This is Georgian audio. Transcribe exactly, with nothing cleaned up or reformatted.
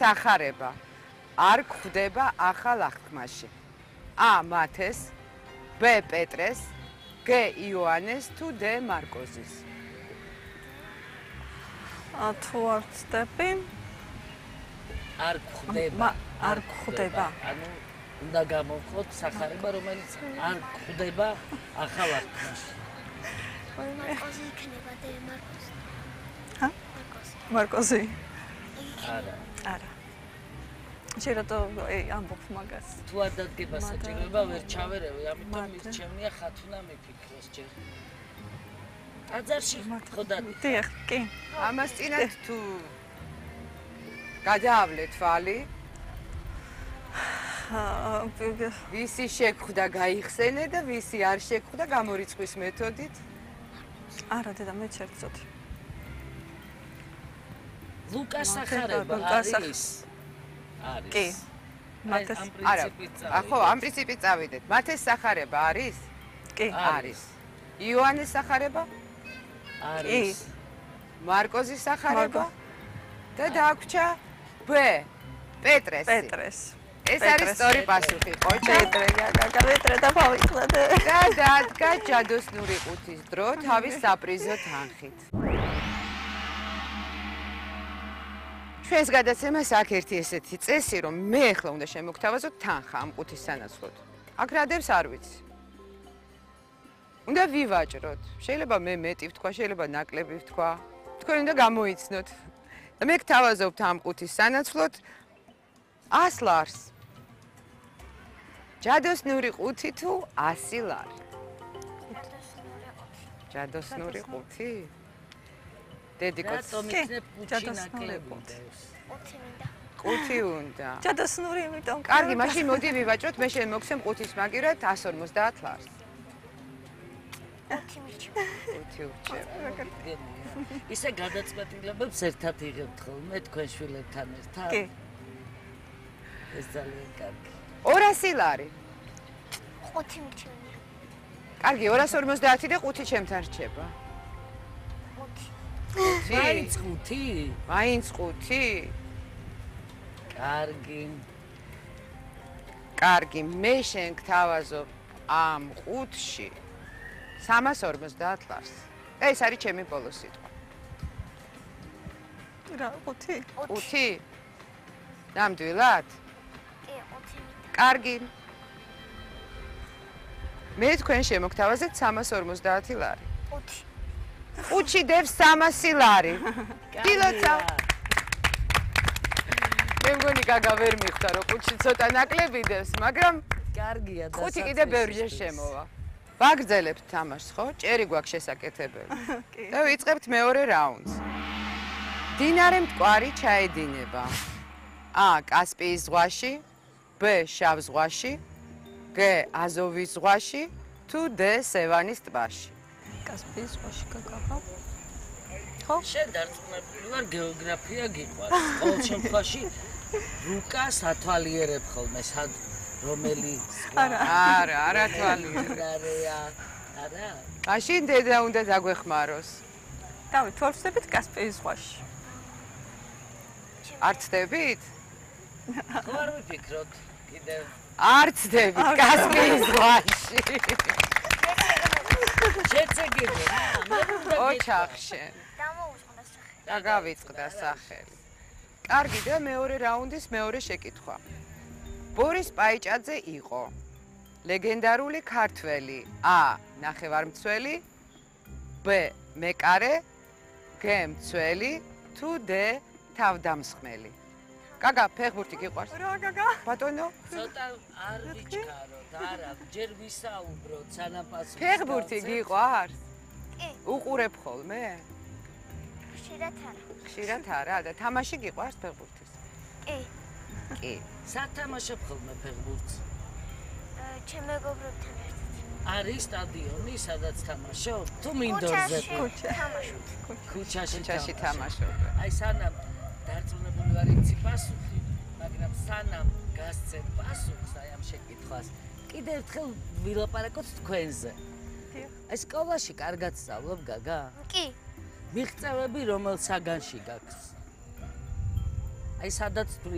სახარება არ გვხვდება ახალ აღთქმაში? A. მათეს, B. პეტრეს, G. იოანეს თუ D. მარკოზის? თუ არ ვწდები, არ გვხვდება. არ გვხვდება. ანუ უნდა გამოვხოთ სახარება, რომელიც არ გვხვდება ახალ აღთქმაში. მარკოზი იქნება D. მარკოზი. ჰა? მარკოზი. არა. არა. შეიძლება ეი ამბობ მაგას. თუ არ დადგება საჭიროება, ვერ ჩავერევი, ამიტომ მირჩევნია ხათუნა მიფიქროს ჯერ. ტაძარში ხო დადი. დიახ, კი. ამას წინათ თუ გადაავლე თვალი, ვისი შეგხვდა გაიხსენე და ვისი არ შეგხვდა გამორიცხვის მეთოდით? არა, დედა, მე ერთ წოდი. ლუკას სახარება არის. არის. კი. მათეს არა, ხო, ამ პრინციპით წავიდეთ. მათეს სახარება არის? კი. არის. იოანეს სახარება? არის. მარკოზის სახარება? და დაგვრჩა B. პეტრესი. პეტრეს. ეს არის სწორი პასუხი, ხო? პეტრე, გაგა, პეტრე და გავიწყდე. და დადგა ჯადოსნური ყუთის დრო თავის საპრიზო თანხით. ჩვენს გადაცემას აქ ერთი ესეთი წესი, რომ მე ახლა უნდა შემოგთავაზოთ თანხა ამ ყუთის სანაცვლოდ. აქ რადებს არ ვიცი. უნდა ვივაჭროთ. შეიძლება მე მეტი ვთქვა, შეიძლება ნაკლები ვთქვა. თქვენ უნდა გამოიცნოთ. და მე გთავაზობთ ამ ყუთის სანაცვლოდ ას ლარს. ჯადოსნური ყუთი თუ ასი ლარი? ჯადოსნური ყუთი? დედიკოს. რატომ იქნებ ყუთი ნაკლები? ყუთი უნდა. ჯადოსნური, იმიტომ. კარგი, მაშინ მოდი ვივაჭროთ, მე შენ მოგცემ ყუთის მაგივრად εκατს ორმოცდაათ ლარს. ყუთი მირჩევ. ყუთი ურჩევ. ისე გადაწყვეტილებებს ერთად იღებთ ხოლმე თქვენ შვილებთან ერთად? კი. ეს ძალიან კარგი. ორასი ლარი. ყუთი მირჩევნია. კარგი, ორას ორმოცდაათი და ყუთი ჩემთან რჩება. ყუთი. მაინც ყუთი? მაინც ყუთი? კარგი. კარგი, მე შენ გთავაზობ ამ ყუთში სამას ორმოცდაათ ლარს. ეს არის ჩემი ბოლო სიტყვა. რა, ყუთი? ყუთი? ნამდვილად? კი, ყუთი მინდა. კარგი. მე თქვენ შემოგთავაზეთ სამას ორმოცდაათი ლარი. ყუთი. ყუთში დევს სამასი ლარი. დილოცა. მე მგონი გაგა ვერ მიხვდა, რომ ყუთში ცოტა ნაკლები დევს, მაგრამ კარგია და ყუთი კიდე ბევრჯერ შემოვა. ვაგრძელებთ თამაშს, ხო? ჭერი გვაქვს შესაკეთებელი. და ვიწყებთ მეორე რაუნდს. დინარე მტკვარი ჩაედინება. A. კასპიის ზღვაში, B. შავ ზღვაში, G. აზოვის ზღვაში თუ D. სევანის ტბაში. კასპიის ზღვაში გაგაბა. ხო? შენ დარწმუნებული ვარ, გეოგრაფია გიყვარს. ყოველ შემთხვევაში ლუკას ათვალიერებ ხოლმე სად რომელი არა. არა, არა თვალიერებ. არაა. არა. მაშინ დედა უნდა დაგვეხმაროს. დავით, თუ არ ვწდებით კასპიის ზღვაში. არ ცდებით? ხო არ ვიფიქროთ კიდევ. არ ცდებით კასპიის ზღვაში. შეცეგები. ოჩახშენ. დამოუწყდა სახელი. და გავიწყდა სახელი. კარგი და მეორე რაუნდის მეორე შეკითხვა. ბორის პაიჭაძე იყო ლეგენდარული ქართველი A. ნახევარმცველი, B. მეკარე, G. მცველი თუ D. თავდამსხმელი. გაგა, ფეხბურთი გიყვარს? რა, გაგა? ბატონო? ცოტა არ ვიჩქაროთ, არა, ჯერ ვისაუბროთ სანაფასო. ფეხბურთი გიყვარს? კი. უყურებ ხოლმე? ხშირად არა. ხშირად არა და თამაში გიყვარს ფეხბურთის? კი. კი. სათამაშო ხოლმე ფეხბურთს. ჩემ მეგობრებთან ერთად. არის სტადიონი, სადაც თამაშობ? თუ მინდორზე? თამაშობ. ქუჩაში ქუჩაში თამაშობ. აი სანამ დარწმუნებული ვარ იცი პასუხი, მაგრამ სანამ გასცემ პასუხს აი ამ შეკითხვას, კიდევ ერთხელ ვილაპარაკოთ თქვენზე. აი სკოლაში კარგად სწავლობ, გაგა? კი. მიღწევები რომელ საგანში გაქვს? აი სადაც თუ